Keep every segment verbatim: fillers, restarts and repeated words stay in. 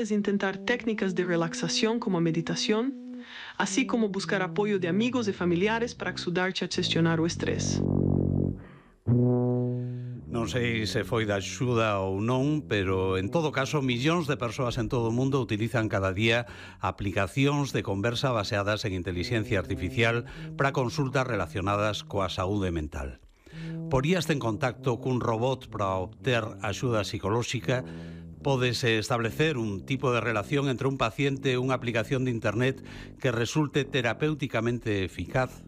Es intentar técnicas de relaxación como meditación, así como buscar apoyo de amigos e familiares para axudar-te a gestionar o estrés. Non sei se foi da axuda ou non, pero en todo caso millóns de persoas en todo o mundo utilizan cada día aplicacións de conversa baseadas en inteligencia artificial para consultas relacionadas coa saúde mental. Poríaste en contacto cun robot para obter axuda psicolóxica? Podes establecer un tipo de relación entre un paciente e unha aplicación de internet que resulte terapéuticamente eficaz?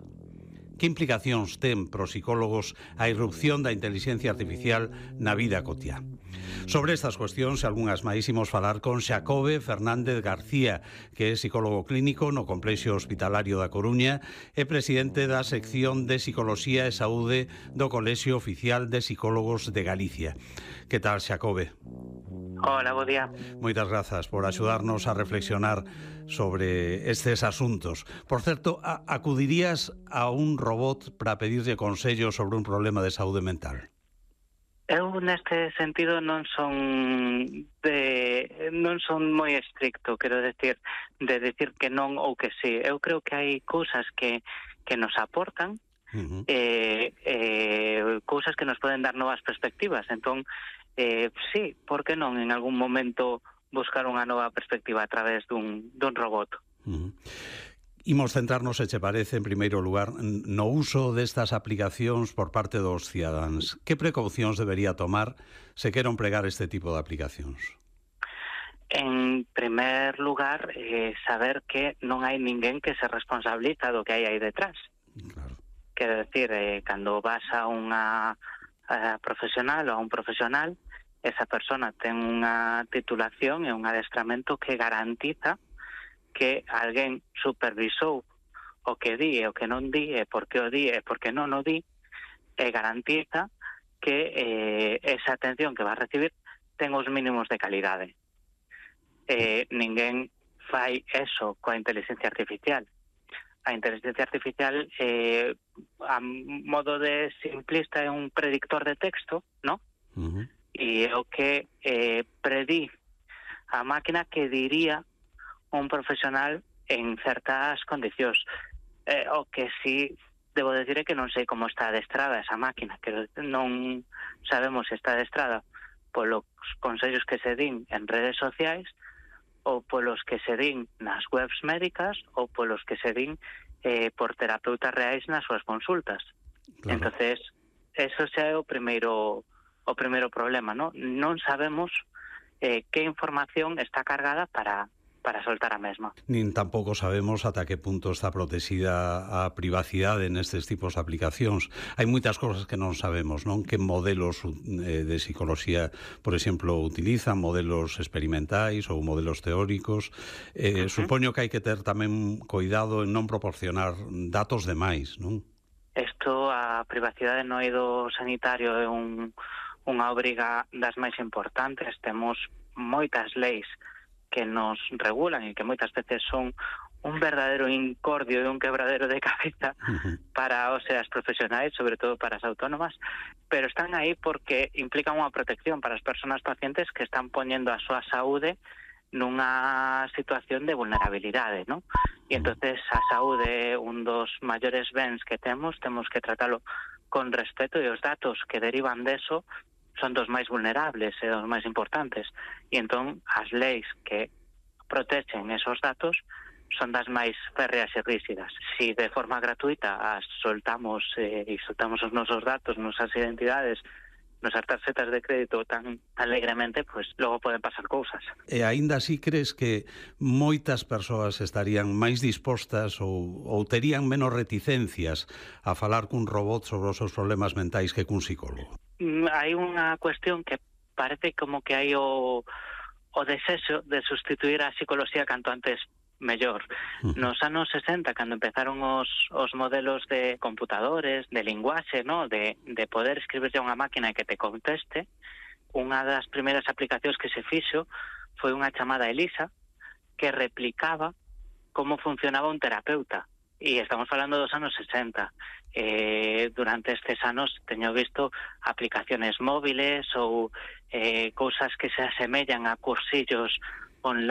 Que implicacións ten para os psicólogos a irrupción da inteligencia artificial na vida cotiá? Sobre estas cuestións e algunhas máis imos falar con Xacobe Fernández García, que é psicólogo clínico no Complexo Hospitalario da Coruña e presidente da sección de Psicoloxía e Saúde do Colexio Oficial de Psicólogos de Galicia. Que tal, Xacobe? Hola, bo día. Moitas grazas por axudarnos a reflexionar sobre estes asuntos. Por certo, a, acudirías a un robot para pedirlle consello sobre un problema de saúde mental? Eu neste sentido non son de non son moi estricto, quero decir, de decir que non ou que sí. Eu creo que hai cousas que que nos aportan, uh-huh. eh, eh, cousas que nos poden dar novas perspectivas. Entón, eh, sí, por que non en algún momento buscar unha nova perspectiva a través dun, dun robot? Uh-huh. Imos centrarnos, se che parece, en primeiro lugar, no uso destas aplicacións por parte dos cidadáns. Que precaucións debería tomar se quero empregar este tipo de aplicacións? En primer lugar, eh, saber que non hai ninguén que se responsabiliza do que hai aí detrás. Claro. Quero decir, eh, cando vas a unha a profesional ou a un profesional, esa persona ten unha titulación e un adestramento que garantiza que alguén supervisou o que di e o que non di, e por que o di e por que non o di, e garantiza que eh, esa atención que va a recibir ten os mínimos de calidade. Eh, ninguén fai eso coa inteligencia artificial. A inteligencia artificial, eh, a modo de simplista, é un predictor de texto, ¿no? Uh-huh. E é o que eh, predí a máquina que diría un profesional en certas condicións. Eh, o que sí debo decir é que non sei como está adestrada esa máquina, que non sabemos se está adestrada polos consellos que se din en redes sociais, ou polos que se din nas webs médicas, ou polos que se din eh, por terapeutas reais nas súas consultas. Claro. Entonces, eso xa é o primeiro o primeiro problema, ¿no? Non sabemos eh, que información está cargada para para soltar a mesma. Nin tampouco sabemos ata que punto está protexida a privacidade nestes tipos de aplicacións. Hai moitas cousas que non sabemos, non? Que modelos eh, de psicoloxía, por exemplo, utilizan, modelos experimentais ou modelos teóricos. Eh, uh-huh. Supoño que hai que ter tamén cuidado en non proporcionar datos de máis, non? Isto, a privacidade no eido sanitario é un, unha obriga das máis importantes. Temos moitas leis que nos regulan e que moitas veces son un verdadeiro incordio e un quebradero de cabeza uh-huh. para os e as profesionais, sobre todo para as autónomas, pero están aí porque implican unha protección para as persoas pacientes que están poñendo a súa saúde nunha situación de vulnerabilidade, ¿no? E entonces a saúde é un dos maiores bens que temos, temos que tratalo con respeto, e os datos que derivan deso son dos máis vulnerables e dos máis importantes. E entón as leis que protegen esos datos son das máis férreas e rígidas. Si de forma gratuita as soltamos eh, e soltamos os nosos datos, nosas identidades, nosas tarxetas de crédito tan alegremente, pois pues, logo poden pasar cousas. E aínda así crees que moitas persoas estarían máis dispostas ou, ou terían menos reticencias a falar cun robot sobre os seus problemas mentais que cun psicólogo? Hai unha cuestión que parece como que hai o, o desexo de sustituir a psicología canto antes mellor. Uh-huh. Nos anos sesenta, cando empezaron os, os modelos de computadores, de linguaxe, ¿no? de, de poder escribirse a unha máquina que te conteste, unha das primeiras aplicacións que se fixo foi unha chamada Elisa, que replicaba como funcionaba un terapeuta. E estamos falando dos anos sesenta. Eh, durante estes anos teño visto aplicaciones móviles ou eh, cousas que se asemellan a cursillos online